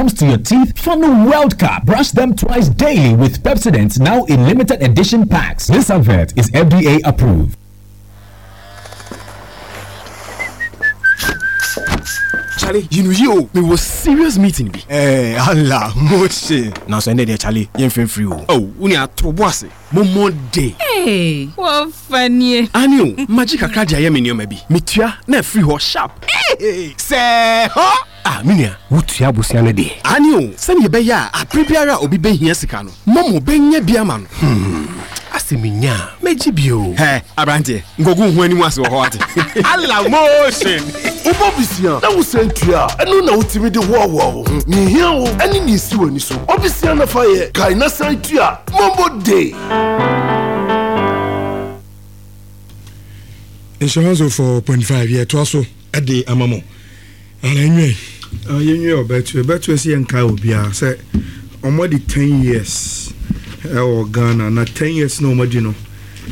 comes to your teeth, Funnel World Cup. Brush them twice daily with Pepsodent now in limited edition packs. This advert is FDA approved. Charlie, you know you me was serious meeting bi. Eh, Allah, motion. Nanso ɛnɛ deɛ Charlie, yɛn fɛn firi o. Oh, wo ni ato bo ase. Mo mo de. Hey, wɔfa nie. Ani o, magye kakra de ayɛ me nneɛma bi. Metua na afiri hɔ sharp. Hey, sɛ hɔ. Ah, me nua, wotua abusua no deɛ. Aane o, sɛnea ɛbɛyɛ a abere biara a obi bɛhia sika no, Momo bɛnya bi ama no. Hmm, asɛ menya a, mɛgye bi o. Hɛ, aberanteɛ, nkɔgu wo ho anim ase wɔ hɔ wate. Allah motion! Wobɔ bisia na wosan tua a, ɛno na wotumi de hoahoa wo ho. Nea ehia wo ne nea esi w'ani so. Bɔ bisia na fa yɛ, kae na san tua. Momo Day! Nhyira 104.5 yɛtoa so de ama mo. Ana enwie. Ah, yɛnwie ɔbɛto. Ɛbɛto sɛ yɛnkae obiara sɛ wɔadi 10 years ɛwɔ Ghana na 10 years na wɔadi no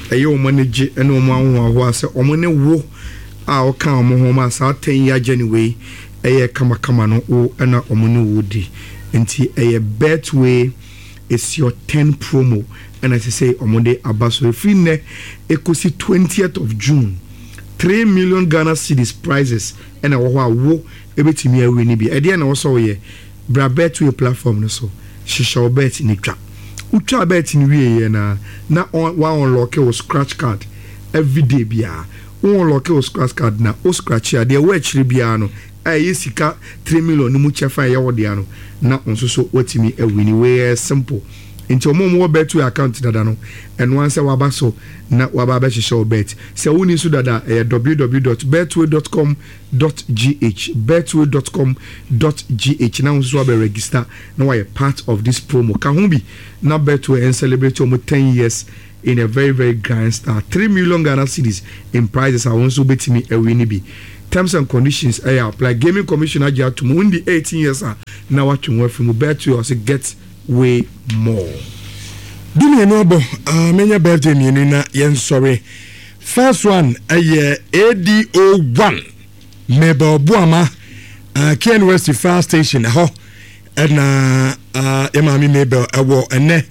ɛyɛ wɔn ani gye ne wɔn ahohoahoa sɛ wɔn ne wo a wɔka wɔn ho ma saa 10 year journey wei ɛyɛ kamakama no wo ɛna wɔn ne wo di nti ɛyɛ Betway is your 10 promo ɛna ɛsɛ sɛ wɔn de aba so ɛfiri nnɛ ɛkɔsi 20th of June 3 million Ghana cedis prizes na ɛwɔ hɔ a wo bɛtumi a wini bi. Ɛdeɛn na ɛwɔ sɛ woyɛ? Bra Betway platform no so, hyehyɛ wo bet no twa. Wo twaa bet no wieeɛ no ara na wa unlocke wo scratch card everyday biara. Wo unlocke wo scratch card no a, wo scratche a, deɛ ɛwɔ akyire biara no a ɛyɛ sika three million no mu kyɛfa a ɛyɛ wo dea no, na wo nso so woatumi awini. Wei ɛyɛ simple. Nti wɔn a wɔwɔ Betway account dada no, ɛno ara sɛ waba so na waba abɛhyehyɛ wo bet. Sɛ wonni nso dada a, ɛyɛ www dot betway dot com dot gh, betway dot com dot gh, na wo nso so abɛ register na wayɛ part of this promo. Ka ho bi na Betway ɛncelebrate wɔn 10 years in a very very grand style. 3 million Ghana cedis in prizes a wo nso wobɛtumi awini bi. Terms and conditions ɛyɛ apply. Gaming Commission agye atom. Wondi 18 years a na watwe ho afiri mu. Betway ɔse get way more. Dumienu abɔ ah menyɛ birthday mmienu na yɛnsɔre. First one ɛyɛ ADO 1 Mabel Boama uh, KN West Fire Station ɛhɔ ɛna uh, yɛ maame Mabel ɛwɔ ɛnɛ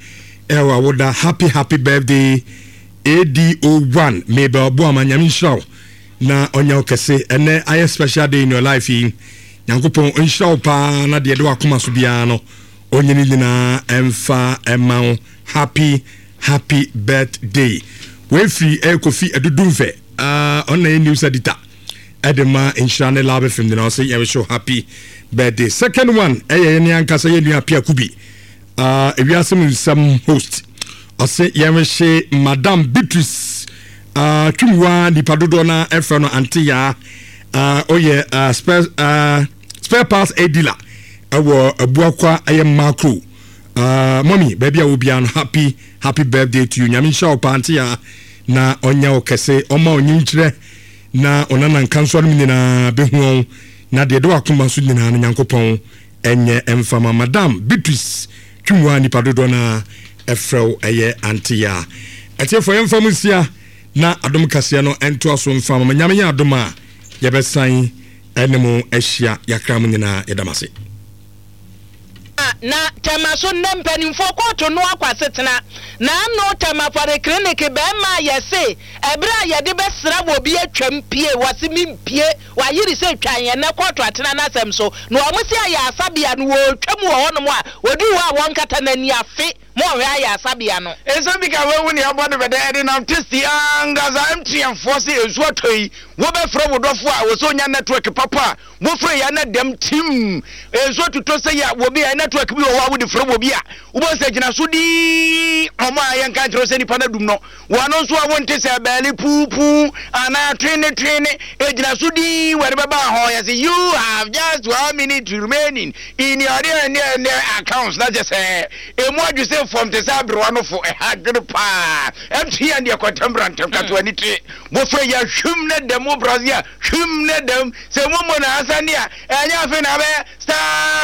ɛwɔ awoda happy happy birthday ADO 1 Mabel Boama nyame nhyira wo na ɔnyɛ wo kɛse ɛnɛ ayɛ special day in your life yi nyankopɔn nhyira wo paa na deɛ ɛde wakoma so biara no Ɔnyɛ ne nyinaa ɛmfa ɛma wo happy happy birthday wei firi ɛyɛ Kofi Adudumfɛ uh, ɔno na yɛ news editor ɛde ma nhyira ne love fm nyinaa ɔsɛ yɛn wish happy birthday second one ɛyɛ yɛn ankasa yɛn nua Apia Kubi uh, ewiase mu nsɛm host ɔsɛ yɛn wish madam Beatrice uh, twumwa nipa dodoɔ na ɛfrɛ no ante yaa uh, ɔyɛ uh, spare, uh, Spare parts a dealer ɛwɔ abuakwa ɛyɛ macro uh, mommy baabi a wɔ no happy happy birthday to you nyame nhyira wo paa nte ya na ɔnyɛ wo kɛse ɔma ɔnyi nkyerɛ na ɔnana nkansoa no nyinaa bɛhu ɔn na deɛ ɛde wakoma so nyinaa no nyankopɔn ɛnyɛ ɛmfama madam Beatrice twumua nipa dodoɔ no ɛfrɛ wo ɛyɛ ante ya ɛtiɛfoɔ yɛmfa mu nsia na adom kaseɛ no ɛntoa so mfa ma nyame yɛ adom a yɛbɛsan Ɛne mo ahyia yakra mo nyinaa yɛda mo ase. Na Tema so nnɛ mpanimfoɔ kɔɔto no akɔ asetena na ano Tema polyclinic bɛɛma a yɛse ɛberɛ a yɛde bɛsra wɔ bi atwam pie wɔse mempie wayere sɛ twan ɛnnɛ kɔɔto atena n'asɛm so na wɔn se ayaresabea no wɔretwam wɔ hɔnom a wɔduru hɔ a wɔnkata n'ani afe Monhwɛ ayaresabea no. Nsɛm bi ka wawu nea abɔ no bɛdɛ ɛdenam tasty ankasa MTN foɔ se nsuo atɔ yi wobɛfrɛ wo dɔfo a ɔsɛ onya network papa a wofrɛ yi a na dɛm tim nsuo totɔ sɛ yi a wɔbi a network bi wɔ hɔ a wode frɛ wɔbi a wobɛhu sɛ gyina so dii ɔmo a yɛnka nkyerɛ sɛ nipa no adum no Wɔn nso a wonte sɛ bɛɛle puupuu anaa twene twene, egyina so dinn wɔde bɛba hɔ yɛ sɛ you have just one minute remaining in your deɛ deɛ deɛ accounts na kyɛ sɛ emu adwo sɛ fam te sɛ aberewa no fo ɛha adwene paa MTN deɛ kɔntɛm bra ntɛm kato ani te wofrɛ yɛ hwim ne dɛm wo brase a hwim ne dɛm sɛ mo mo na asa ne a ɛnyɛ afei na abɛyɛ star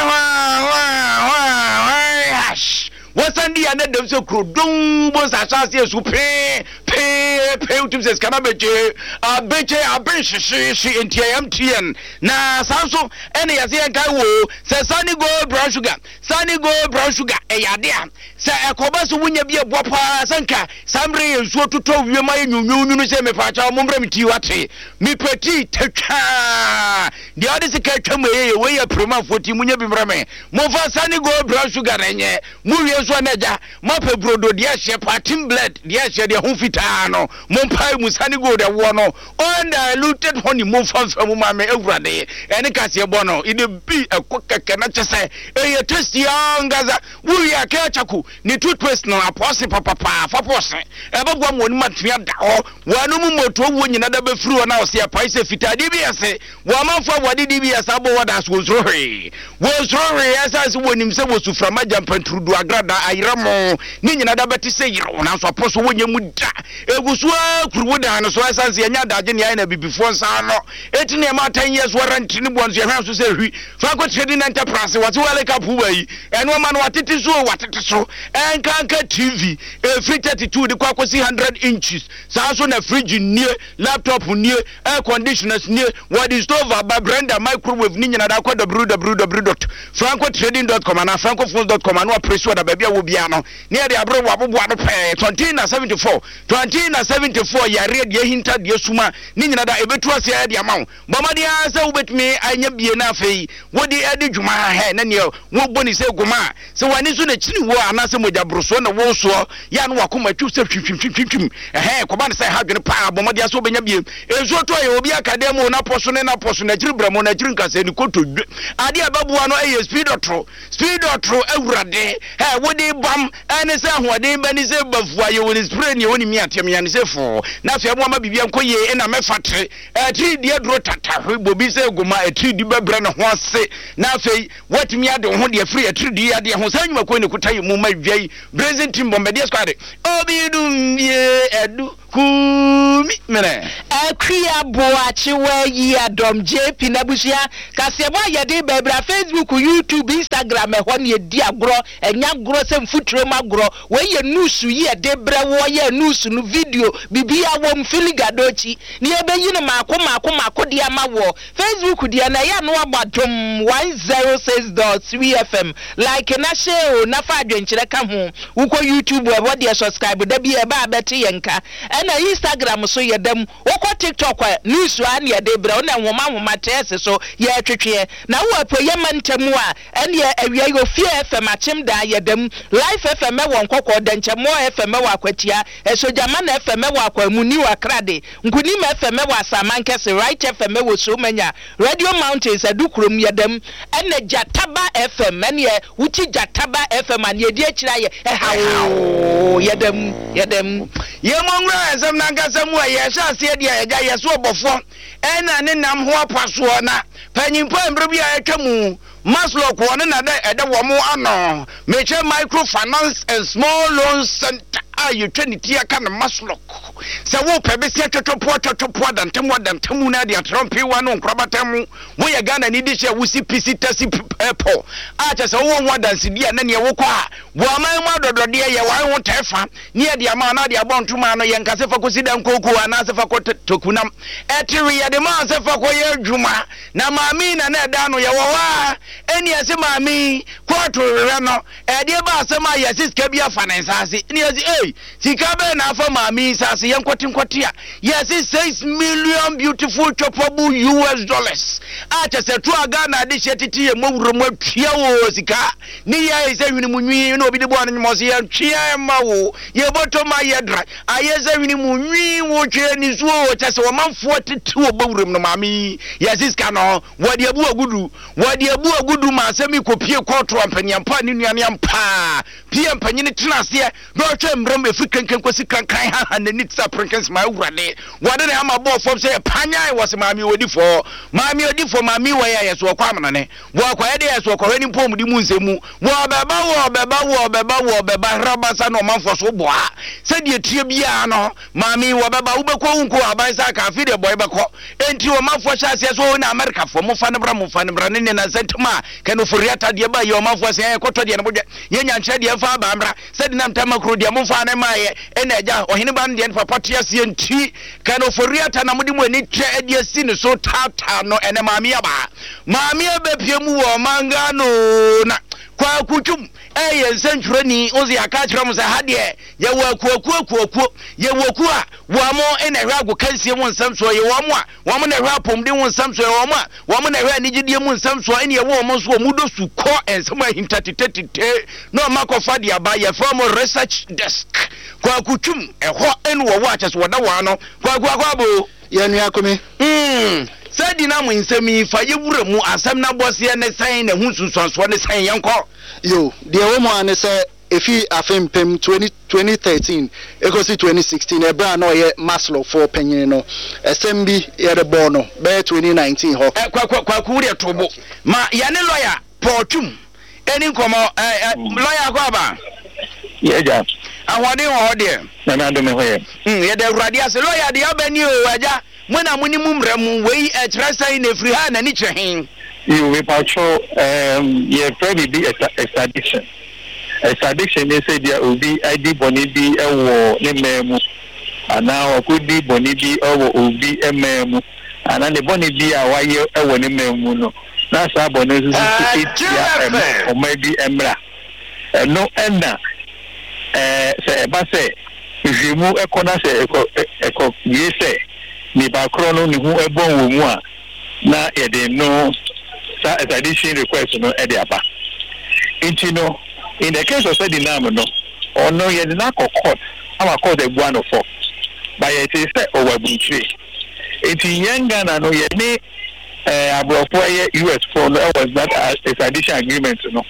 hwaa hwaa hwaa hwaa hash Wɔsan di yɛn dɛm sɛ kuro dɔn mu nsa ahyɛ aseɛ su pee pee. pɛpɛɛpɛ wotum sɛ sika no abɛgye abɛgye abenhyehyeehye nti ɛyɛ MTN na saa nso ɛne yɛse yɛnkae wo sɛ Sunny Gold Brown Sugar Sunny Gold Brown Sugar ɛyɛ ade a sɛ ɛkɔba sɛ wonya bi ɛboa paa sɛ nka saa mmerɛ yɛ nsuo totɔ wiem ayɛ nwunwunwunu sɛ mepaakyɛw mombrɛ me tii wate mepɛ tii tatwaa deɛ ɔde sika atwa mu ɛyɛ yɛ wei yɛ piremanfoɔ tii munya bi mmerɛ me momfa Sunny Gold Brown Sugar na ɛnyɛ mowie nso a na agya moapɛ brodo deɛ ɛhyɛ paa team bled deɛ ɛhyɛ deɛ ho fitaa no mompae mu Sunny Gold ɛwoɔ no Undiluted honey momfa mfa mu ma me awurade ɛne kaseɛ bɔ no ide bi ɛkɔ kɛkɛ na kyɛ sɛ ɛyɛ tasty ankasa wowie a kɛɛ chako ne toothpaste no apɔse papapaa fa pɔse ɛbɛboa ma wɔn atumi ada hɔ wɔanom mmɔtoɔ wuo nyina da bɛfiri hɔ na ɔse ɛpae sɛ fitaa DBS wɔ amanfoɔ a wɔde DBS abɔ wɔ da so wɔnsuro hwee wɔnsuro hwee ɛsiane sɛ wɔnim sɛ wɔsu frama gyampanturudu agrada ayerɛmo ne nyina da bɛte sɛ yerɛw nanso apɔ so wɔnyɛ mu da Egu so ara kuru wo dan no so ɛsiane sɛ yɛnyɛ adagye nea ayɛ na abibifoɔ nsa ano eti nea ɛma 10 years warranty ne boɔ nso yɛhwɛ nso sɛ hwi Franco Trading Enterprise wɔse World Cup wa yi ɛnoɔma no watete so o watete so ɛnkanka TV ɛfiri 32 de kɔ akɔsi 100 inches saa nso na fridge nie laptop nie air conditioners nie wɔde stove aba blender microwave ne nyina da kɔ www.francotrading.com anaa francophones.com ano apere so ɔda baabi a wɔ biara no Ne yɛde abere wɔ aboboa no pɛɛ Tɔnten na 74 Tɔnten na 74 Yareɛ deɛ ahinta deɛ suma ne nyina da ɛbɛtu aseɛ de ama wo Bɔ mmɔden ara sɛ wobɛtumi anya bie na afei wode adi dwuma Hɛ na neɛ wobɔ ne sɛ goma a sɛ w'ani so na kyini woɔ anaasɛ mogya borosoɔ na wosoɔ yɛ a na wakoma twiw sɛ hwimhwimhwimhwim Ɛhɛn kɔba no sɛ ɛha adwene paa bɔ mmɔden ara sɛ wobɛnya bie Nsuo tɔ yɛ obi aka dan mu o N'apɔ so ne n'apɔ so n'akyiri brɛmo n'akyiri nkasɛɛ ne kotodwe Adeɛ a ɛbɛboa no yɛ speed ɔtoro Speed ɔtoro awurade ɛ wode bam ɛne sɛ ahoɔden bɛ ne sɛ bafua yɛ wɔne spray ne wɔne mi ateɛ mea ne sɛ foo na afei ɛmo ama biribi nkɔ yie ɛna mɛfa tere ɛtiri di aduro tatahwe bobi sɛ goma ɛtiri di bɛbrɛ ne ho ase na afei watumi ade wo ho deɛ firi ɛtiri di adeɛ ho saa nnwumakuo ne kuta yɛ mu ma wia yi brazen team bɔmbɛdeɛ squad obi dum bie ɛdu Kumi mene. Akua Boakye Wayi Adom JP N'abusua kaseɛbɔ a yɛde ba bra Facebook, YouTube, Instagram ɛhɔ na yɛdi agorɔ ɛnyɛ agorɔ sɛ mfuturo mu agorɔ wei yɛ news yi yɛde brɛ woɔ yɛ news no video biribiara wɔ mu Filiga Dochi na yɛbɛyi no maako maako maako de ama woɔ Facebook deɛ no ɛyɛ a na wabɔ Adom 106.3 FM like na share o na fa adwenkyerɛ ka ho Wokɔ YouTube a ɛhɔ deɛ subscribe da bi a ɛba a bɛte yɛn nka ɛna Instagram so yɛda mu wokɔ TikTok a news aa na yɛde brɛ wo na nhoma nhoma trɛs so yɛtwetweɛ na wowɔ apueɛ mantam a ɛneɛ awia yi Ofie FM Akyem daa yɛda mu Life FM ɛwɔ Nkɔkɔɔ Dɛnkyɛmmoɔ FM ɛwɔ Akwatia Ɛsogyamana FM ɛwɔ Akwamu New Akrade Nkunim FM ɛwɔ Asaman Kɛse Right FM ɛwɔ Somanya Radio Mountains Adukurom yɛda mu ɛna Gyataba FM ɛneɛ wokyi Gyataba FM a neɛ ɛdi akyire ayɛ ɛha oo yɛda mu yɛda mu. Yɛmmɔ nwura nsɛm no ankasa mu a yɛhyɛ aseɛ deɛ agya yɛ so ɔbɔfoɔ ɛna ne nam ho apasoɔ na panyimpa mmerɛ bi a atwa mu Masloc wɔ ne na dɛ ɛda wɔn ano mekyɛ Micro Finance and Small Loans Center a yɛtwa ne ti aka no Masloc sɛ wopɛ besia twɔtwɔpoa twɔtwɔpoa dantamu adantamu na ade atrɛ mpewa no nkorabata mu Woyɛ Ghanani de hyɛ wo si pi si ta si p pɔ a kyerɛ sɛ wowɔ ho adansedi a na neɛ wokɔ a wɔ aman mu adɔdɔdeɛ yɛ wae ho tɛ fa ne yɛde ama anaa de abɔ ntoma ano yɛnka sɛ fa kɔsi dan kooko anaasɛ fa kɔ tokunam ɛte we yɛde maa sɛ fa kɔyɛ adwuma na maame yi na na ɛda ano yɛwɔ hɔ a ɛne ɛse maame yi kɔɔto hwehwɛ no ɛdeɛ ba asɛm a yɛse sika bi afa ne nsa ase ne yɛse ei Sika bɛn na afa maame yi nsa ase? Yɛnkɔte nkɔte a, yɛse 6 million beautiful choppable US dollars a kyɛ sɛ to a Ghana adehyeɛ tete yɛ mmɔwura mu atua o sika ne yɛ ayɛ sɛ hwene mu nwi na obi de bɔɔ no nwoma ɔse yɛntwea ma wo yɛbɔtɔ ma yɛ dra ayɛ sɛ hwene mu nwi wo twɛ ne suo o kyɛ sɛ ɔmanfoɔ tete wɔ bɔwuram no maame yi yɛse sika no wɔde abu agudu wɔde abu agudu ma asɛm yi kɔpie kɔɔto ampaniampa ne nuane ampaa pie mpanyini tena aseɛ Na ɔhwɛ mmerɛ mu ɛfiri kankan kɔsi kankan haha n'ani te sɛ aperenkɛnse maa Awurade. Wɔde ne hama bɔɔ fam sɛ panyan wɔ se maame odi fɔ, maame odi fɔ, maame wɔ yɛ yɛ so ɔkɔ amanane. Wɔkɔ yɛ de yɛ so ɔkɔhwɛ ne mpɔmudi mu nsɛm mu. Wɔbɛba, wɔbɛba, wɔbɛba, wɔbɛba, hrabasa na ɔmanfoɔ so boa. Sɛdeɛ ɛteɛ biara no, maame yi wɔbɛba, wobɛkɔ wonkɔ aban sa aka, afei deɛ bɔe bɛkɔ. Enti ɔmanfoɔ hyɛ aseɛ sɛ, oo na Amerikafoɔ, momfa no bra, momfa no bra, ne ne nansa ntam a, Ken Ofori-Atta deɛ ba yi, ɔmanfoɔ sɛ, ɛɛ kɔtɔ deɛ no bodwɛ, yɛ nyankyerɛ deɛ mfa aba mmra, sɛde nam tamakuro deɛ momfa ne mmaeɛ, ɛna agya, ɔhene ba no deɛ ne papa te aseɛ nti, Ken Ofori-Atta na mode mo ani kyɛ de asi ne so taataa no, ɛnɛ maame yi aba. Maame abɛpue mu wɔ ɔman Ghana oo, na Kwaku Twum ɛyɛ nsɛntwerɛni, wo sɛ yɛaka akyerɛ mo sɛ ha deɛ yɛwɔ akuakuo akuakuo, yɛwɔ kuo a wɔn na ɛhwɛ agokansie mu nsɛm soɔ, yɛwɔ wɔn a wɔn na ɛhwɛ apɔmuden ho nsɛm soɔ, yɛwɔ wɔn a wɔn na ɛhwɛ anigyedeɛ mu nsɛm soɔ, ɛne yɛwɔ wɔn nso wɔn dɔ su kɔ nsɛm ahinta tetetete na wɔn akɔfa de aba, yɛfrɛ wɔn research desk. Kwaku Twum ɛhɔ ɛne wɔwɔ akyɛ so wɔda wɔn ano. Kwaku akɔ abo. Yɛn nua Kumi. Mm, sɛ di na mo nsɛm yi fa yɛ wura mu asɛm na bɔseɛ ne sɛn na ɛho nsunsuansoɔ ne sɛn yɛnkɔ. Yo, deɛ ɛwɔ mu ara ne sɛ ɛfiri afe mpem 2013 ɛkɔsi 2016 ɛberɛ a na ɔyɛ Masloc foɔ panyini no, ɛsɛm bi yɛde bɔɔ no bɛyɛ 2019 hɔ. Ɛ, Kwaku, Kwaku wo deɛ to bo ma yɛne lɔya Paul Twum ɛni nkɔmmɔ. Ɛ, ɛ, lɔya akɔ aba? Yɛ agya. Ahoɔden wɔ hɔ deɛ? Nyame adom me ho yɛ. Mm, yɛda Awurade ase. Lɔya deɛ aba ni o, agya. Mo na mo nim mmara mu, wei ɛkyerɛ sɛn na ɛfiri ha a n'ani kyerɛ he? Yiw, mepakyɛw, ɛɛm, yɛfrɛ biribi extradition. Extradition ne sɛ ebia obi adi bɔne bi wɔ ne man mu, anaa wakodi bɔne bi wɔ obi man mu, anaa ne bɔne bi a wayɛ wɔ ne man mu no, na saa bɔne no nso so tia ɔman bi mmara. Ɛno na sɛ ɛba sɛ nhwehwɛmu kɔ na sɛ ɛkɔ ɛkɔ wie sɛ nipa korɔ no ne ho bɔn wɔ mu a, na yɛde no saa extradition request no de aba. Nti no, in the case of Sedinam no, ɔno yɛde no akɔ court ama court abua no fɔ, but yɛtee sɛ ɔwɔ aburukyire. Nti yɛn Ghana no yɛne ɛɛ aborɔfo ɛyɛ US foɔ no ɛwɔ that extradition agreement no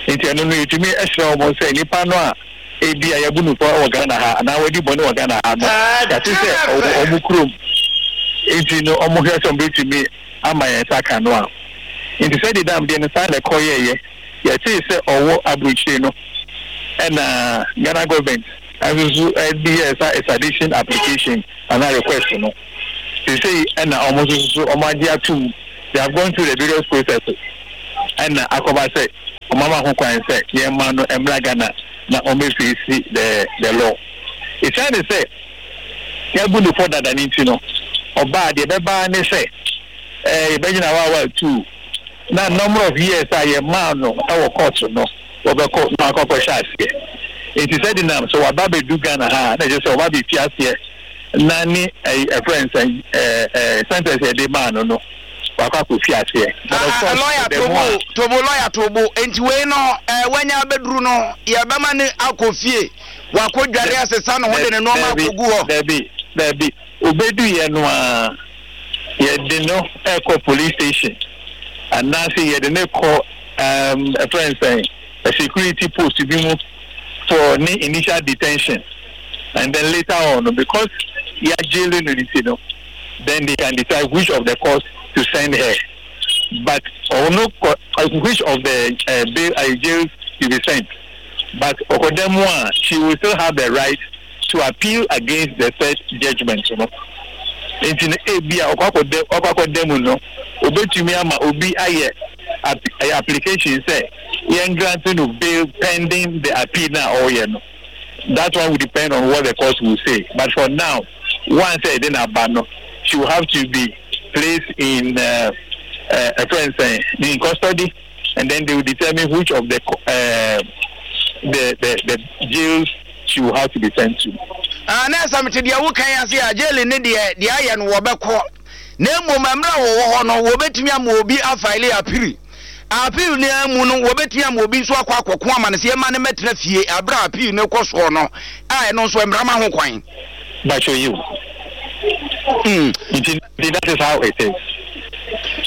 nti ɛno no yɛtumi ɛsrɛ wɔn sɛ nipa no a ebi a yɛabu no fɔ wɔ Ghana ha anaa wadi bɔne wɔ Ghana ha no yɛate sɛ ɔwɔ wɔn kurom nti no wɔn hwɛ sɛ wɔn bɛtumi ama yɛn nsa aka no a nti sɛ dedam deɛ no saa na ɛkɔ yɛɛyɛ yɛtee sɛ ɔwɔ aburokyire no ɛna Ghana government nso so ɛde yɛɛ saa extradition application anaa request no. Seesei na wɔn nso so wɔagye atom, they have gone through the various processes ɛna akɔba sɛ wɔn ama ho kwan sɛ yɛmma no mmra Ghana na ɔmmɛfeesi the the law. Esiane sɛ yɛabu no fɔ dada no nti no, ɔbaa deɛ ɛbɛba ara ne sɛ ɛɛ yɛbɛgyina hɔ a two na number of years a yɛmaa no wɔ court no wɔbɛkɔ na wakɔ akɔhyɛ aseɛ. Nti Sedinam sɛ waba abɛdu Ghana ha a na ɛkyerɛ sɛ ɔba abɛfi aseɛ na ne ɛyi ɛfrɛ no sɛn ɛɛ ɛɛ sentence yɛde maa no no wakɔ akɔfi aseɛ. But of course lɔya the more tobo tobo lɔya tobo nti wei no ɛɛ wanya abɛduru no yɛbɛma no akɔ fie wakɔ dware asesa ne ho de ne nneɛma Dabi akɔgu hɔ. dabi dabi obeduiɛ no ara yɛde no ɛkɔ police station anaasɛ yɛde no kɔ ɛɛm ɛfrɛ no sɛn security post bi mu for ne initial detention and then later on because yɛagyele no nti no then they can decide which of the courts to send her but ɔno kɔ which of the uh, bail uh, jails to be sent but ɔkɔda mu a she will still have the right to appeal against the said judgement no nti no ebi a ɔkɔ akɔda ɔkɔ akɔda mu no obetumi ama obi ayɛ ɛyɛ application sɛ yɛn grant no bail pending the appeal na ɔreyɛ no that one will depend on what the court will say but for now once ɛde n'aba no she will have to be placed in uh, uh, a friend in custody and then they will determine which of the uh, the, the the jails she will have to be sent to. Ah, na sɛ mete deɛ woka yi ase a jail ne deɛ deɛ ayɛ no wɔbɛkɔ na mmom mmerɛ a wɔwɔ hɔ no wɔbɛtumi ama obi afaele apiri appeal no ara mu no wɔbɛtumi ama obi nso akɔ akɔko ama no sɛ yɛma no mɛtena fie aberɛ a appeal no kɔ soɔ no a ɛno nso mmara ma ho kwan. Bakyɛ yiw. Mm. Nti that is how it is.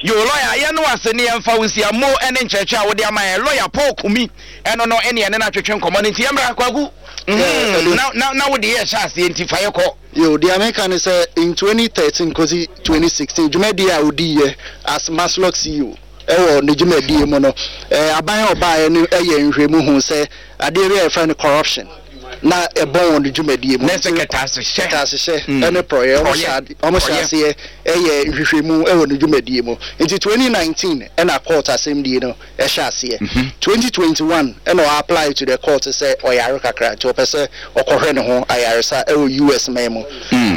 Yo lawyer yɛ no ase ne yɛmfa wo nsia mo ne nkyerɛkyerɛ a wode ama yɛn lawyer Paul Kumi ɛno no ɛne ɛne no atwetwe nkɔmmɔ no nti yɛmmra Kwaku mm, na, na, na wode yɛ hyɛ aseɛ nti fa yɛ kɔ. Yo, deɛ meka ne sɛ in 2013 kɔsi 2016 dwumadie a ɔdiiɛ as Masloc CEO. wɔ ne dwumadie mu no, aban a ɔbaeɛ no yɛ nhwɛmu hu sɛ adeɛ bi a yɛfrɛ no corruption na ɛbɔn wɔ ne dwumadie mu. Ne sɛ kɛtɛasehyɛ. Kɛtɛasehyɛ mm. ne prɔyɛ. Wɔn hyɛ aseɛ yɛ nhwehwɛmu wɔ ne dwumadie mu. Nti 2019 ɛna court asɛmdie no ɛhyɛ aseɛ. 2021 ɛna ɔ apply to the court sɛ ɔyare kakra nti ɔpɛ sɛ ɔkɔhwɛ ne ho ayaresa ɛwɔ US man mu.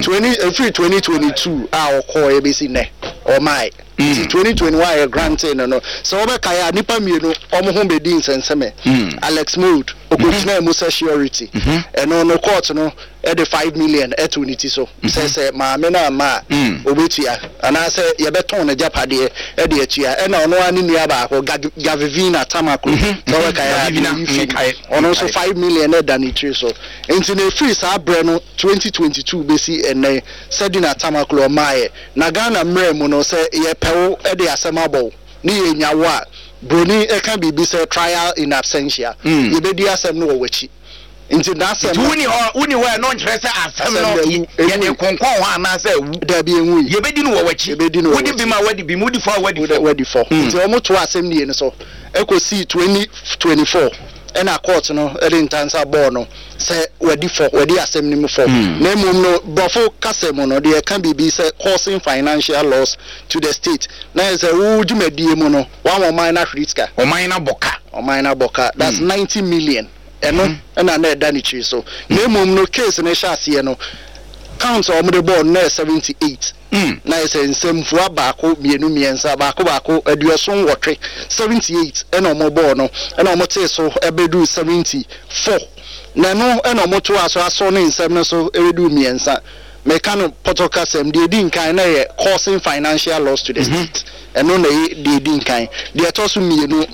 20 ɛfiri 2022 a ɔkɔɔ ɛbɛsi nnɛ ɔmae. Nti 2021 yɛ grantee no no, sɛ wobɛkae a nnipa mmienu wɔn ho bɛdii nsɛnsɛmɛ. Alex Mould, ɔkɔgyinaa mu sɛ surety. Ɛno no court no de 5 million too ne ti so sɛ sɛ maame no amma a ɔbɛtua anaasɛ yɛbɛtɔn n'agyapadeɛ de atua. Ɛna ɔno ara ne nua baako, Gavivina Tamaklo, sɛ wobɛkae a, deɛ ɔyi fi mu, ɔno nso 5 million da ne tiri so. Nti no ɛfiri saa berɛ no 2022 bɛsi ɛnnɛ, Sedina Tamaklo ɔmmaeɛ. Na Ghana mmra mu no sɛ yɛpɛ wo de asɛm abɔ wo ne yɛnya wo a, broni ka biribi sɛ trial in absentia, yɛbɛdi asɛm no wɔ w'akyi. Nti n'asɛm Nti no. Wonni hɔ, wonni hɔ a ɛno nkyerɛ sɛ asɛm Asɛm no no awu, yɛde ɛnwui. konkɔn hɔ anaasɛ awu. Dabi, ɛnwui. Yɛbɛdi no wɔ w'akyi. Yɛbɛdi no wɔ Wodi w'akyi. bem a woadi bem, wodi fɔ a woadi Wode fɔ. woadi fɔ. Nti wɔtoaa asɛmnie no so kɔsii 2024 ɛna court no de ntansa bɔɔ no. sɛ wadi fɔ, wadi asɛm no mu fɔ, na mmom no, Borɔfo kasa mu no, deɛ ɛka biribi sɛ causing financial loss to the state, na yɛ sɛ wo dwumadie mu no, woama ɔman no ahwere sika. Ɔman no abɔ ka. Ɔman no abɔ ka. That's 90 million. Ɛno na na ɛda ne tiri so. Na mmom no, case no hyɛ aseɛ no, count a wɔde bɔɔ no na yɛ 78. Na ayɛ sɛ nsɛmfua baako, mmienu, mmiɛnsa, baako baako, 78, 78, ɛna wɔbɔɔ no, ɛna wɔtee so bɛduu 74. Na ɛno na wɔtoaa so asɔ ne nsɛm no so bɛduu mmiɛnsa. Meka no pɔtɔ kasam, deɛ ɛdi nkan na ɛyɛ causing financial loss to the state. Ɛno na ɛyɛ deɛ ɛdi nkan. Deɛ ɛtɔ so mmienu,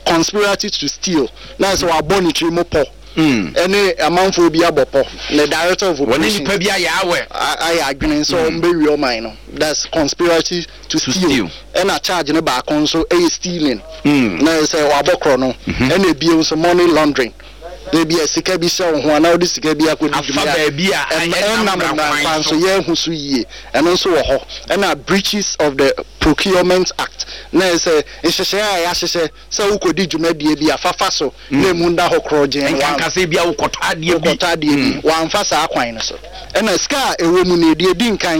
conspiracy to steal, na ayɛ sɛ wɔabɔ ne tiri mu pɔ. Ɛne amanfoɔ bi abɔ pɔ. Ne director of Wɔne operations. nipa bi ayɛ awɛ. Ayɛ adwene sɛ wɔn bɛwie ɔman no. That's conspiracy to steal. Ɛna charge no baako nso yɛ stealing. Na ɛyɛ sɛ wabɔ korɔ no. Ɛna ebio nso money laundering. Ebi a sika bi hyɛ wo ho anaa wode sika bi akɔdi dwuma Afa baabi a ɛnam ɛnam mmara kwan so. Yɛahu so yie. Ɛno nso wɔ hɔ. Ɛna breaches of the procurement act. Na ɛyɛ sɛ nhyehyɛeɛ a yɛahyehyɛ sɛ wokɔdi dwumadie bi a, fa fa so na ɛmu nda hɔ korɔgyenn. Nkanka sɛ ebia wokɔtɔ adeɛ bi. Wokɔtɔ adeɛ bi. Wamfa saa kwan no so. Ɛna sika a ɛwɔ mu no, deɛ ɛdi nkan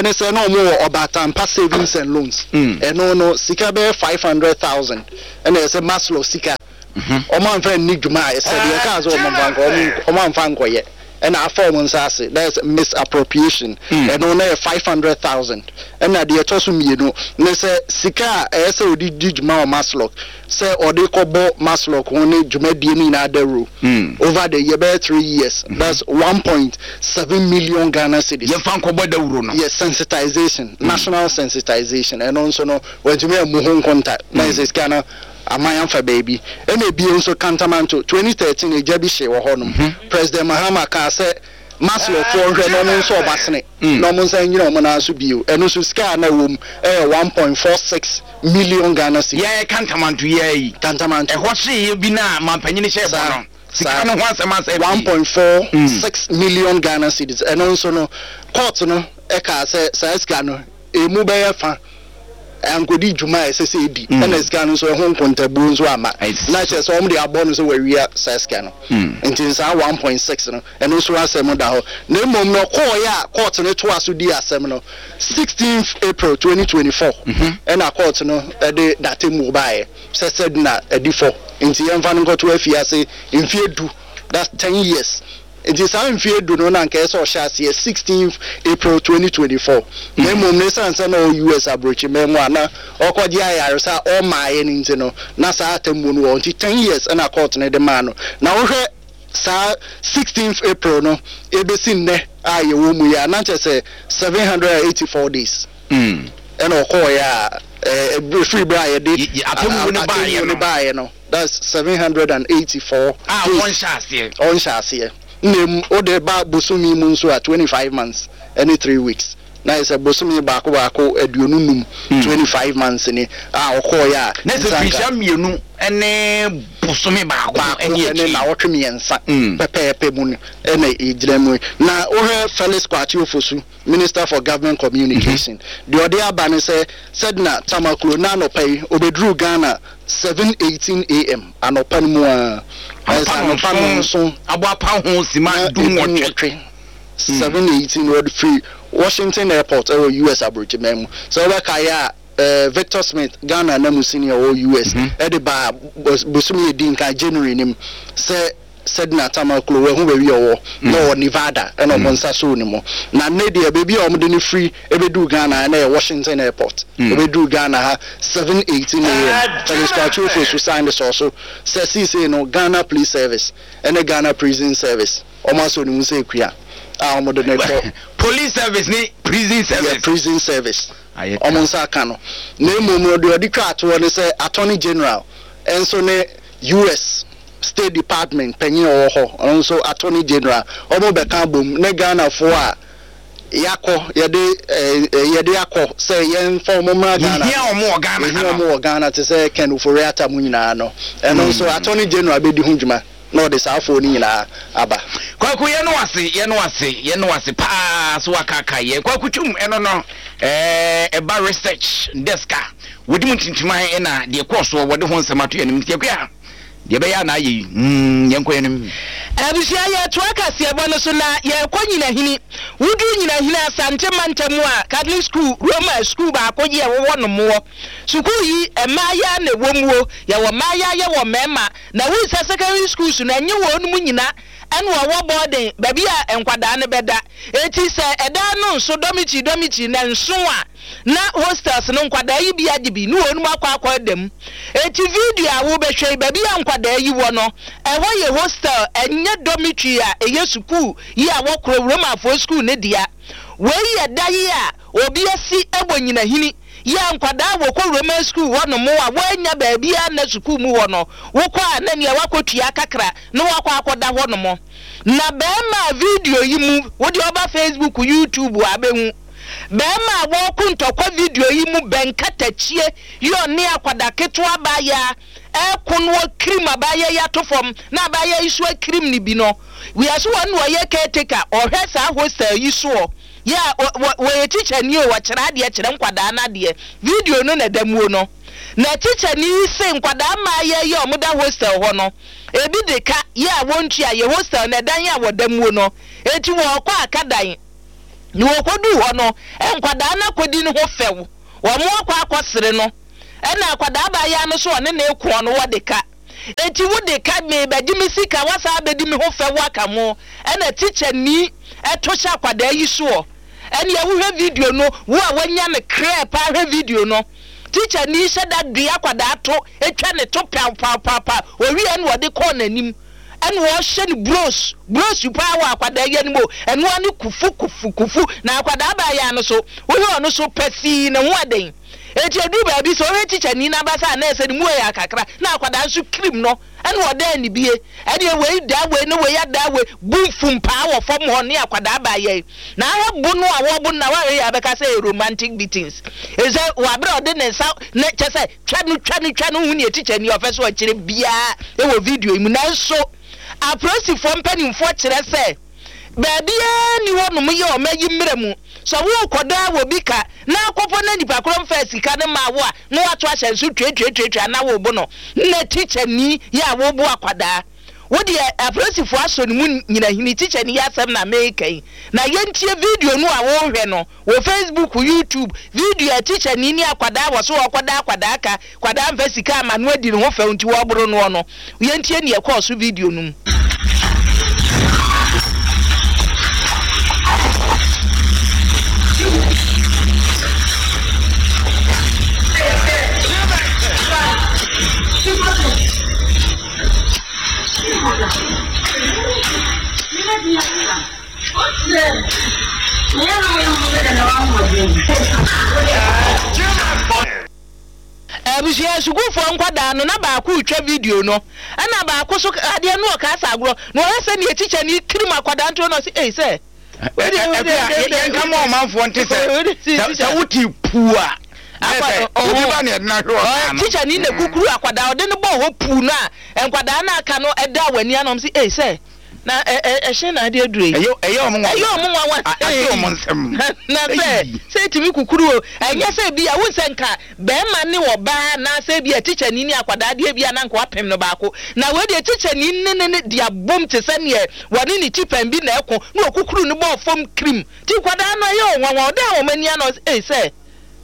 ne sɛ na wɔwɔ Ɔbaatanpa Savings and Loans. Ɛno no, sika bɛyɛ 500,000 ɛna ɛsɛ Maslow sika. Wɔamfa anni dwuma a ɛsɛ. Deɛ ɛkaa sɛ wɔmfa nkɔ, wɔamfa ankɔyɛ. Ɛna afa wɔn nsa ase, that is misappropriation, ɛno na yɛ 500,000. Ɛna deɛ ɛtɔ so mmienu ne sɛ sika a ɛyɛ sɛ ɔde di dwuma wɔ MASLOC, sɛ ɔde kɔbɔ MASLOC ho ne dwumadie no nyinaa dawuro over the year bɛyɛ 3 years, that's 1.7 million Ghana cedis. Yɛmfa nkɔbɔ dawuro no. Yes, sensitization, national sensitization, ɛno nso no wantumi ammu ho nkonta, na yɛ sɛ sika no Aman afa baabi. Ɛna ebio nso Kantamanto, 2013 egya bi hyee wɔ hɔ nom. President Mahama kaa sɛ Maslow foɔ nhwɛ na ɔmo nsɔ ɔmo asene na ɔmo nsan nnyina ɔmo nan so bio. Ɛno nso sika a na ɛwɔ mu ɛyɛ 1.46 million Ghana cedis. Yɛɛ Kantamanto yi ara yi. Kantamanto. Ɛhɔ hyeeɛ bi no a mampanyini hyɛɛ bɔ no. Sika no ho asɛm asɛe pii. 1.46 million Ghana cedis. Ɛno nso no court no ɛkaa sɛ saa sika no emu bɛyɛ fa ankɔdi dwuma a ɛsɛ sɛ ɛdi, ɛna sika no nso ɛho nkontabuo nso amma. Na kyerɛ sɛ wɔde abɔ no sɛ wawia saa sika no. Nti saa 1.6 no, ɛno nso asɛm da hɔ. Na mmom no, ɔkɔeɛ a court no toa so dii asɛm no, 16th April 2024 ɛna court no de n'atemmuo baeɛ sɛ Sedina adi fɔ, nti yɛmfa no nkɔto afiase mfeɛ du, that's 10 years. Nti saa mfeɛ du no na anka ɛsɛ sɛ ɔhyɛ aseɛ 16th April 2024 na mmom no ɛsiane sɛ na ɔwɔ US abrokyiman mu a na ɔrekɔgye ayaresa a ɔmmaeɛ no nti no na saa atemmuo no wɔ hɔ nti 10 years na court no de maa no. Na wohwɛ saa 16th April no ɛbɛsi nnɛ a yɛwɔ mu yi a na kyerɛ sɛ 784 days ɛna ɔkɔeɛ a ɛfiri berɛ a yɛde Atemmuo no atemmuo no baeɛ no. That's 784 A days. ɔnhyɛ aseɛ. Ɔnhyɛ aseɛ. Na emu wode ba bosome mu nso a 25 months ɛne 3 weeks. Na ayɛ sɛ bosome baako baako 25, 25 months ni a ɔkɔeɛ a. Na sɛ mfirihyia mmienu ne bosome baako ne akyiri. Ne nnawɔtwe mmiɛnsa pɛpɛɛpɛ mu no na ɛgyina mu yi. Na wohwɛ Felix Kwakye Ofosu, Minister for Government Communication, deɛ ɔde aba ne sɛ Sedina Tamaklo nnɛ anɔpa yi ɔbɛduruu Ghana 7:18 AM, anɔpa no mu ara. Ayɛ sɛ anɔpa nnɔnson abɔ apa ho sima dunwɔtwe. 7:18 wɔde firi Washington Airport ɛwɔ US aburokyiman mu. Sɛ wobɛkae a, eh, Victor Smith, Ghana ananmusini a ɔwɔ US, ɛde baa bosome a ɛdi nkan, January no mu, sɛ Sedina Tamaklo, wahu baabi a ɔwɔ, na ɔwɔ Nevada, ɛna wɔn nsa soo ne mu. Na nnɛ deɛ, baabi a wɔde no firi bɛduu Ghana ha, na ɛyɛ Washington Airport. Ɔbɛduu Ghana ha 7:18 AM. Felix Kwakye Ofosu san de sɔɔ so sɛ seesei no, Ghana Police Service ne Ghana Prison Service, Wɔn asɔ ne mu sɛ akua a wɔn de no kɔ. Police service ne prison service. Yeah, prison service. Wɔn nsa aka no. Na mmom no, deɛ ɔde twa atoɔ ne sɛ Attorney General nso ne US State Department panyin a ɔwɔ hɔ, ɔno nso Attorney General, wɔn bɛka abom ne Ghanafoɔ a yɛakɔ, yɛde eh, yɛde akɔ sɛ yɛmfa wɔn mmra Ghana. Yɛhia wɔn wɔ Ghana ha no. Yɛhia wɔn wɔ Ghana te sɛ Ken Ofori-Atta mu nyinaa no. Ɛno nso Attorney General bɛdi ho dwuma. na ɔde saa afoɔ no nyinaa aba. Kwaku yɛne wo ase yɛne wo ase yɛne wo ase paa so wakaakae yɛn Kwaku Twum ɛno no ɛɛ ɛba research desk a wɔdi mu ntintiman ɛna deɛ ɛkɔɔ soɔ wɔde ho nsɛm ato yɛn anim nti Akua deɛ ɛbɛyɛ a na ayɛ yi mm yɛnkɔ yɛn anim. Abusua yɛtoa kaseɛbɔ no so na yɛrekɔ Nyinahini. Woduru Nyinahini Asante mantam a Catholic School Roma sukuu baako yɛ wɔ hɔ nom wɔ. Sukuu yi mmaayaa na ɛwɔ muo, yɛwɔ mmaayaa yɛwɔ mmarima. Na wohu sɛ secondary schools no ɛnye wɔn mu nyina ɛna wɔwɔ boarding baabi a nkwadaa no bɛda. Eti sɛ ɛdan no nso dormitory dormitory na nso a na hostels no nkwadaa yi bi agye bi ne wɔn mu akɔ akɔ da mu. Eti video a wobɛhwɛ yi baabi a nkwadaa yi wɔ no ɛhɔ yɛ hostel ɛnyɛ dormitory a ɛyɛ sukuu yi a wɔkorɔ Romafoɔ sukuu no dea. Wei yɛ da yi a obi asi wɔ nyinahini. Yɛ a nkwadaa a wɔkɔ Roman sukuu hɔ nom a wɔannya baabiara nna sukuu mu hɔ no, wokɔ a na nea woakɔtua kakra na woakɔ akɔda hɔ nom. Na barima a video yi mu, wo deɛ woba Facebook, YouTube a bɛhu. Barima a wɔreko ntɔkwa video yi mu bɛn katakyie yi ɔne akwadaa ketewa abaayaa ɛreko no ɔkirim abaayaa yi ato fam na abaayaa yi nso akirim no bi no. Wiase wɔn na ɔyɛ caretaker, ɔhwɛ saa hostel yi soɔ. Yeah, wɔ, wɔ, wɔyɛ tikyani o, wɔkyerɛ adeɛ kyerɛ nkwadaa no adeɛ. Video no na ɛda muo no. Na tikyani yi se nkwadaa mmaayɛ yi a wɔda hostel hɔ no, ebi de ka yɛ a wɔntua, yɛ hostel no ɛdan a wɔda muo no. Enti wɔrekɔ aka dan. Na wɔkɔduu hɔ no, nkwadaa no akɔdi ne ho fɛw. Wɔn akɔ akɔsere no. Ɛna akwadaa abaayaa no so ɔne ne rekoɔ no, wɔde ka. Enti wo de ka me bɛgye me sika wasan abɛdi me ho fɛw aka ho ɛna teacher ni ɛto hyɛ akwadaa yi soɔ ɛneɛ wo hwɛ video no wo a wanya no krɛɛ paa hwɛ video no teacher ni hyɛ da due akwadaa to ɛtwa ne to paw paw paw paw owie ɛna ɔde kɔɔ n'anim ɛna ɔhyɛ no bros bros paa wɔ akwadaa yi anim o ɛnoa ne kufu kufu kufu na akwadaa baayaa no so wohwɛ ɔno so pɛsii ne ho ɛden. Enti eduu baabi, sɛ ɔhwɛ tikyani no abasa a, na ɛsɛ ne mu yɛ kakra, na akwadaa nso kirim no, ɛna ɔdan ne bie. Ɛdeɛ wei daa wei na wei adaa wei, bu mfumpaa wɔ fam hɔ ne akwadaa baayɛ yi. Na ahwɛ bo no a wɔbo no na woahwɛ yie a wobɛka sɛ ɛyɛ romantic beatings. Efisɛ wɔ abere a ɔde ne nsa ne kyɛ sɛ twa no twa no twa no wohu nea tikyani ɔpɛ sɛ ɔkyerɛ biara wɔ video yi mu. Nanso apolisifoɔ mpanimfoɔ kyerɛ sɛ Baabiara nni hɔnom yɛ ɔma yi mmerɛ mu. Sɛ worekɔdɔ a obi ka na akɔpɔ na nipa korɔ mfaa sika no mmaa wo a na woato ahyɛnso tuatuatuatua na worebo no na tikyani yɛ a worebo akwadaa. Wo deɛ apolisifoɔ asɔ ne mu nyinahini tikyani yi asɛm na mereka yi na yɛntie video no a worehwɛ no Wɔ Facebook, YouTube, video a tikyani ne akwadaa wɔ so a ɔkɔda akwadaa ka, kwadaa mfa sika ama no adi ne ho fɛw nti wɔboro noɔ no. Yɛntie nea ɛkɔɔ so video no mu. Abusua sukuufoɔ nkwadaa no na baako retwa video no ɛna baako so adeɛ no ɔkaa sɛ agorɔ na ɔhwɛ sɛ nea tikya no kirim akwadaa nti na ɔse ei sɛ. Yɛnka ma ɔmanfoɔ nte sɛ sɛ wote puu a obi ba ne ɛde no ahwɛ ɔsaa no. Tikya ni na kukuru akwadaa ɔde no bɔɔ hɔ puu no a nkwadaa no aka no ɛda w'ani ano ɔmo se ei sɛ na ɛhyɛn na ade aduro yi. Ɛyɛ ɔmo nwanwa. Ɛyɛ ɔmo nwanwa. Ate ɔmo nsɛm. Na sɛ sɛ etumi kukuru o ɛnyɛ sɛ bi a wohu sɛ nka bɛrima ne ɔbaa anaasɛ bi a tikyani ne akwadaa deɛ bi a na nka wapem no baako na wei deɛ tikyani ne ne ne de abom te sɛ neɛ wɔne ne tipɛn bi na ɛko na ɔkukuru no bɔɔ fam kirim nti nkwadaa no ɛyɛ wɔn nwanwa ɔdan wɔn ani ano ɔsɛ ei sɛ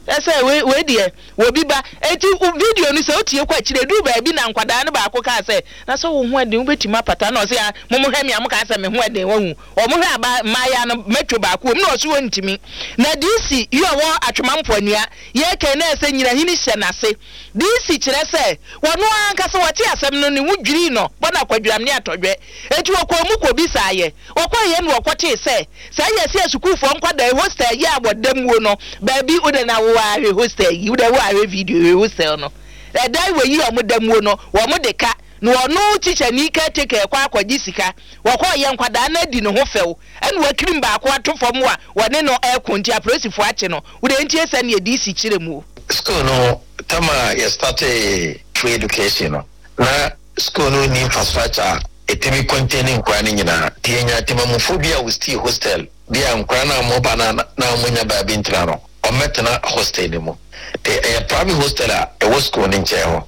ɛsɛ wei wei deɛ wɔbi ba eti video no sɛ wotie kɔ akyire eduru baabi na nkwadaa no baako kaa sɛ na sɛ wo ho ɛden wobɛtumi apata na ɔsɛ ah mo mo hwɛ me a mo kaa sɛ me ho ɛden wahu wɔn hwɛ aba mmaayaa no mɛtwo baako wɔm na ɔsɛ wɔntumi na DC yi ɔwɔ Atwema Mpoanua yɛ kɛn na ɛsɛ nyinahini hyɛ n'ase DC kyerɛ sɛ wɔno ankasa wɔte asɛm no ne ho dwirii no bɔ no akwadwiram ne atɔdwɛ eti wɔkɔɔ mu kɔbisaa yɛ wɔkɔɔ yɛ no wɔkɔtee sɛ saa yɛ sɛ sukuufoɔ nkwadaa yi hostel yi a wɔda muo no baabi wode na wo ahwɛ hostel yi wode wo ahwɛ video hwɛ hostel no ɛdan wɔ yi a wɔda muo no wɔn de ka na ɔno tikyani caretaker kɔ akɔgye sika wɔkɔɔ yɛ nkwadaa no adi ne ho fɛw ɛna wakirim baako ato fam a wɔne no ɛko nti apolisifoɔ akye no wode ntie sɛ neɛ DC kyerɛ mu o. School no tam a yɛ startee free education no na school no nni infrastructure a ɛtumi contain nkwadaa no nyinaa nti yɛnyaa temamufo bi a wɔsii hostel bi a nkwadaa no a wɔba no a na wɔnnya baabi ntena no wɔmmɛtena hostel no mu nti ɛyɛ private hostel a ɛwɔ school no nkyɛn hɔ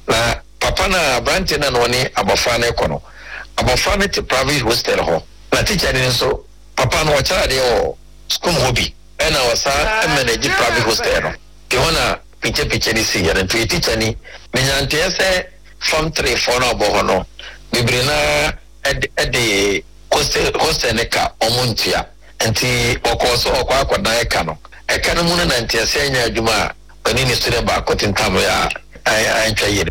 na papa no a aberanteɛ no a na ɔne abɔfra no rekɔ no abɔfra no te private hostel hɔ na tikya no nso papa no ɔkyerɛ adeɛ wɔ school mu hɔ bi ɛna ɔsan manage private hostel no nti hɔ na pikya-pikya no siiɛ no nti ɔyɛ tikya ni menya nteɛ sɛ form 3 foɔ no a ɔbɔ hɔ no bebree no ara de hostel hostel no ka ɔmo ntua nti ɔkɔɔ so ɔkɔ akɔdan ɛka no ɛka no mu no na nteaseɛ nyɛ adwuma a ɔne ne student baako tentam yɛ a antwa yie.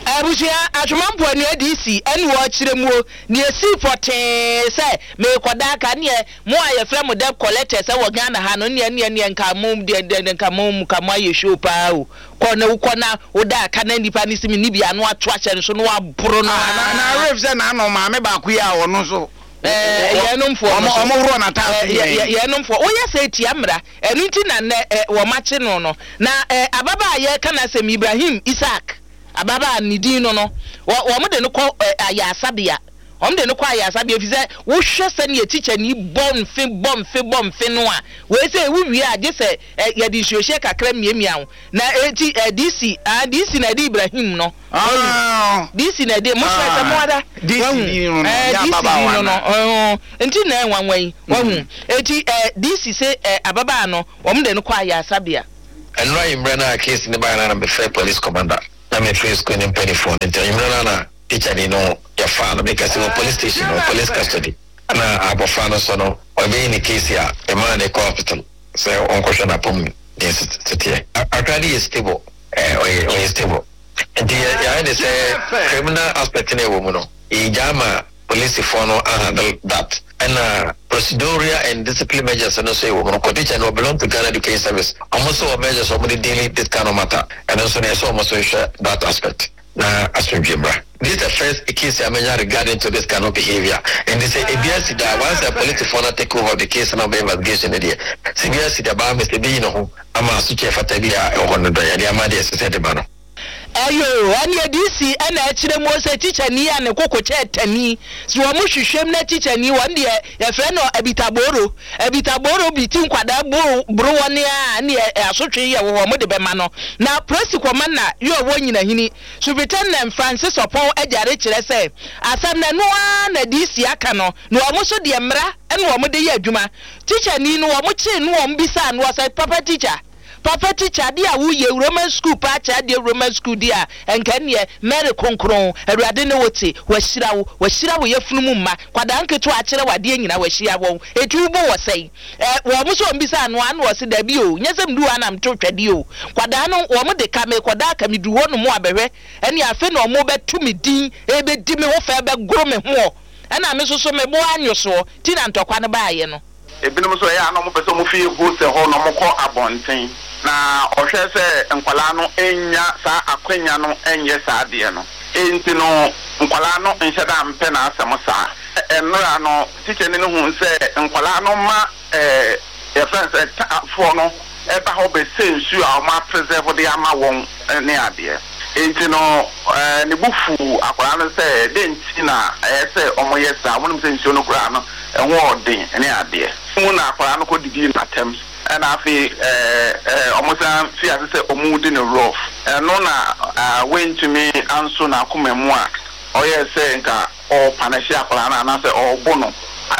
Abusua, Atwoma Mpoanua DC ɛne ɔkyerɛ muo neɛ esii pɔtee sɛ meekɔda aka neɛ mo a yɛfrɛ mo debt collectors ɛwɔ Ghana ha no neɛ neɛ neɛ nka mo deɛ deɛ nka mo nka mo ayɛ show paa o kɔ na wokɔ na woda aka na nipa no si me ni bi ano ato ahyɛ no so na waboro no Ah, na na aa. Rave sɛ n'ano maame baako yi a ɔno nso Ɛɛ yɛnomfoɔ no ɔmo so ɔmo worɔ n'ataase ɛɛ nyinaa yi. yɛnomfoɔ woyɛ sɛ etia mmara ɛno nti na nnɛ ɛ wɔn akye no no na ɛ ababaa a yɛreka n'asɛm Ibrahim Isaac ababaa ne din no no wɔ wɔn de no kɔ ɛ ayaresabea wɔn de no kɔ ayaresabea efisɛ wohwɛ sɛnea tikyani bɔ mfe bɔ mfe bɔ mfe no a wei sɛ wowie a gye sɛ ɛ yɛde nsuohyɛ kakra miamia wo na eti ɛ DC ah DC na ɛde Ibrahim no wahu DC na ɛde mo sɛ sɛ mo ada wahu ɛ DC din no no ɔɔ nti na ɛnwanwa yi wahu eti ɛ DC se ɛ ababaa no wɔn de no kɔ ayaresabea. Ɛnora anwummerɛ no a case no baeɛ no ara na mefrɛɛ police commander na mefrɛɛ sukuu no mpaninfoɔ no nti anwummerɛ no ara na tikyani no yɛfaa no meka sɛ wɔ police station wɔ police custody ɛna abɔfra no nso no ɔbɛyi ne case a memaa no kɔ hospital sɛ ɔnkɔhwɛ n'apɔmuden seteɛ. Akra no yɛ stable eh, ɔyɛ ɔyɛ stable nti yɛ yɛayɛ ne sɛ criminal aspect no ɛwɔ mu no yɛgyaa ma polisifoɔ no ahandle that ɛna procedural and discipline measures no nso ɛwɔ mu no kɔ teacher no belong to Ghana Education Service ɔmo nso wɔ measures ɔmo de deal this kind of matter ɛno nso no yɛsɛ ɔmo nso nhwɛ that aspect na asomdwe mmra. This is the first case a manya regarding to this kind of behaviour nti sɛ ebi asi da a once a polisifoɔ no take over the case na ɔbɛ investigation no deɛ sɛ ebi asi da baa me sɛ ebeyi ne ho ama asotwe a ɛfata bi a ɛwɔ hɔ no dɔ yɛde ama deɛ ɛsɛ sɛ ɛde ma no. Ɛyoo, ɛneɛ DC ɛna ɛkyerɛ muo sɛ tikyani a ne koko kyɛɛ tani, sɛ wɔn hwehwɛm na tikyani wɔn deɛ yɛfrɛ no abitaboro, abitaboro bi ti nkwadaa boro boro wɔn a ɛneɛ asotwe yɛ wɔ hɔ wɔn de bɛma no. Na Prosi Kɔmanda yɛ ɔwɔ Nyinahini, Superintendent Francis Ɔpɔn Agyare kyerɛ sɛ asɛm no ɛno ara na DC aka no na wɔn nso deɛ mmara ɛna wɔn de yɛ adwuma. Tikyani no wɔn kyee no wɔn bisaa no ɔsɛ papa tikya Papa teacher adeɛ a woyɛ Roman school paa kyɛ adeɛ Roman school deɛ a nka ɛneɛ Mary kronkron Awurade ne wo te wahyira wo wahyira wo yafunu mu mma kwadaa nketewa akyerɛ wo adeɛ nyina wahyira wɔn eti wo bo wɔ sɛn ɛ wɔn nso wɔn bisa ano ano ɔse dabi o nyɛ sɛ medu hɔ a na meto twɛdeɛ o kwadaa no wɔn de ka mekɔda aka meduru hɔ nom a bɛhwɛ ɛne afe na wɔn bɛto me din ɛbɛdi me ho fɛ bɛgoro me hoɔ ɛna me nso so me bo anwo soɔ ti na ntɔkwa no baayɛ no. Ebinom nso ɛyɛ a na wɔpɛ sɛ wɔfi hostel hɔ na wɔkɔ abɔnten, na ɔhwɛ sɛ nkwadaa no nnya saa akwanya no nyɛ saa adeɛ no. Enti no, nkwadaa no nhyɛ da mpɛ n'asɛm saa. Nnora no, tikyani no huu sɛ nkwadaa no ma ɛɛ yɛfrɛ no sɛ ta foɔ no ba hɔ bɛsɛ nsuo a wɔn apresɛvo de ama wɔn ne adeɛ. Enti no ne bo fuu akwadaa no sɛ dɛn nti na ɛyɛ sɛ wɔyɛ saa, wɔnim sɛ nsuo no koraa no ɛho ɔden ne adeɛ. Mu na akwadaa no kɔdidii no atɛm ɛna afei wɔsan fii ase sɛ wɔredi no rough. Ɛno na wantumi anso n'akoma mu a ɔyɛɛ sɛ nka ɔrepanɛhye akwadaa no anaasɛ ɔrebo no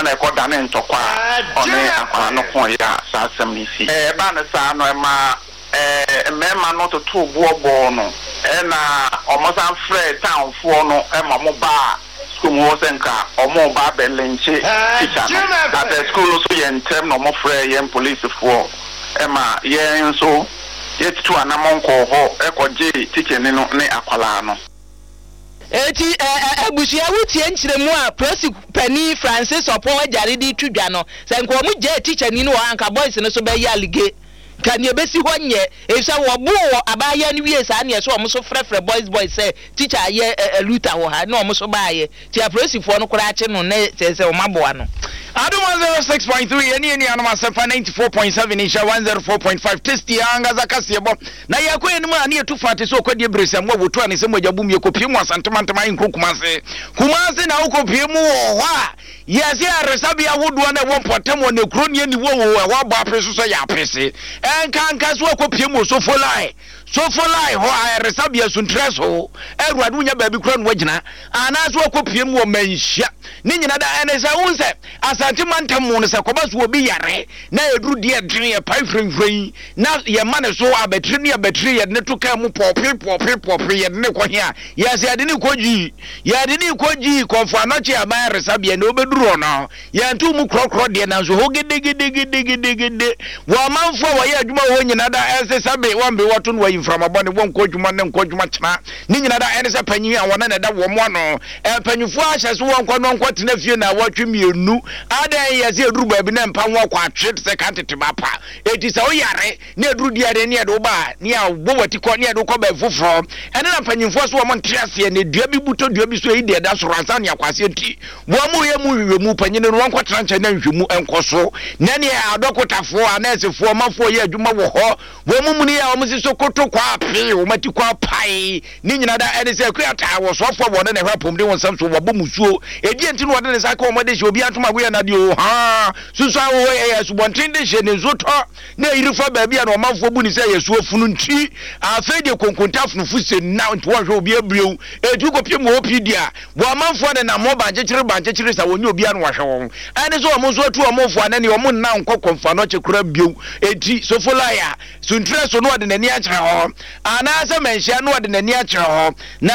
na ɛkɔdanee ntɔkwa a ɔne akwadaa no koeɛ a saa asɛm no sii. Ɛbaa no saa no, ɛmaa mmarima no totoo boɔ bɔɔ no na wɔsan frɛɛ townfoɔ no ma wɔbaa sukuu mu hɔ sɛ nka wɔreba abɛlɛnkye tikya no. Na sɛ sukuu no nso yɛ ntɛm na wɔfrɛɛ yɛn polisifoɔ ma yɛn nso yɛtutuu anammɔn kɔɔ hɔ kɔgyee tikyani no ne akwadaa no. Enti ɛ ɛ abusua wotie nkyerɛmu a Prosi panin Francis Ɔpɔn Agyare de reto dwa no, sɛ nka wɔn gyae tikyani no wɔ hɔ a nka boys no so bɛyɛ alige. Nka nea ɛbɛsi hɔ nyɛ, efisɛ wɔboo wɔ abaayewa no wiee saa na ɛsɛ wɔn so frɛfrɛ boys boys sɛ tikya ayɛ ɛ ɛ luta wɔ ha na wɔn so baeɛ. Nti apolisifoɔ no koraa kye no na kyerɛ sɛ wɔn aboa no. Adom 106.3 yɛne yɛn nuanom Asɛmpa 94.7 Nhyira 104.5 Tasty ankasa kaseɛbɔ Na yɛkɔ yɛn anim a, na yɛtu fa te sɛ ɔkwadie beresɛm a wɔtu a ne nsam mogya bum. Yɛkɔpue mu Asante mantam ahenkuro Kumase. Kumase na wokɔpue mu wɔ hɔ a, yɛse ayaresabea ahodoɔ na ɛwɔ mpɔtam hɔ na kuro ne aniwa wɔ ɛhɔ abɔ apee so sɛ yɛ apese. Ɛnkanka so akɔpue mu wɔ Sofolai. Sofolai hɔ ayaresabea Suntress hɔ. Awurade wonya baabi kora na wagyina. Anaasɛ wakɔpue mu wɔ Manhyia. Ne nyina da ɛne sɛ wohu sɛ Asante mantam mu no sɛ kɔba so obi yare na ɛduru deɛ ɛdene ɛpae hwirenhwiren na yɛma ne so abatiri ne abatiri yɛde ne to kaa mu pɔɔpe pɔɔpe pɔɔpe yɛde ne kɔ he a yɛsɛ yɛde ne kɔ gyii yɛde ne kɔ gyii kɔmfo anɔkye aban ayaresabea na obɛduru hɔ no yɛnto mu korɔkorɔ deɛ nanso hɔ gedegedegedegede wɔ amanfoɔ a wɔyɛ adwuma wɔ hɔ nyina da ɛnse sɛ be wɔn be wɔto no wɔyi mframa bɔne wɔnkɔ adwuma ne nkɔ adwuma kyena ne nyina da ɛne sɛ panyin a wɔne na ɛda wɔn ano mpanyinfoɔ ahyɛ so wɔnkɔ no nkɔ tena fie na wɔtwe mmienu adɛn yɛsɛ ɛduru baabi na mpa ho akɔ atwe te sɛ ka tete ba pa. Enti sɛ woyare na aduru di ade ne yɛde wo ba a, ne yɛabɔ w'ati kɔ ne yɛde wo kɔ baabi foforɔ. Ɛno na mpanyimfoɔ so wɔn nte aseɛ na dua bi bu tɔ dua bi so eyi deɛ ɛda soro ansa ne akɔ aseɛ nti wɔn yɛ mu nhwehwɛmu panyin no wɔnkɔtena nkyɛn na nhwehwɛmu nkɔ so na neɛ adɔkotafoɔ anɛɛsefoɔ ɔmanfoɔ yɛ adwuma wɔ hɔ wɔn mu muni a wɔn si so koto kɔ apee wɔn ati kɔ apae ne nyina da ɛne sɛ akua taa wɔ soafoɔ a wɔne na ɛhwɛ apɔmuden wɔn nsɛm so wɔbɔ musuo ɛdeɛ nti na wɔde ne nsa ka wɔn de hyɛ obi antoma agoyɛ na deɛ o haa Susuan wɔ hɔ yɛ asubɔnten de hyɛ ne nsuo tɔ na ɛyiri fa baabi a na ɔmanfoɔ bu ne sɛ ɛyɛ suo funu nti afei deɛ konkonta afunufo se na nti wɔnhwɛ obi abirew ɛtu kɔpie mu OPD a wɔ amanfoɔ ne nam hɔ bankyekyere bankyekyere sa wɔnyɛ obi ano ahwɛ wɔn ɛne sɛ wɔn nso atu wɔn fo anɛ ne wɔn nna nkɔ kɔmfa no kye kora bio eti sofolaya suntrɛ so na ɔde n'ani akyerɛ hɔ anaasɛ manhyia na ɔde n'ani akyerɛ hɔ na.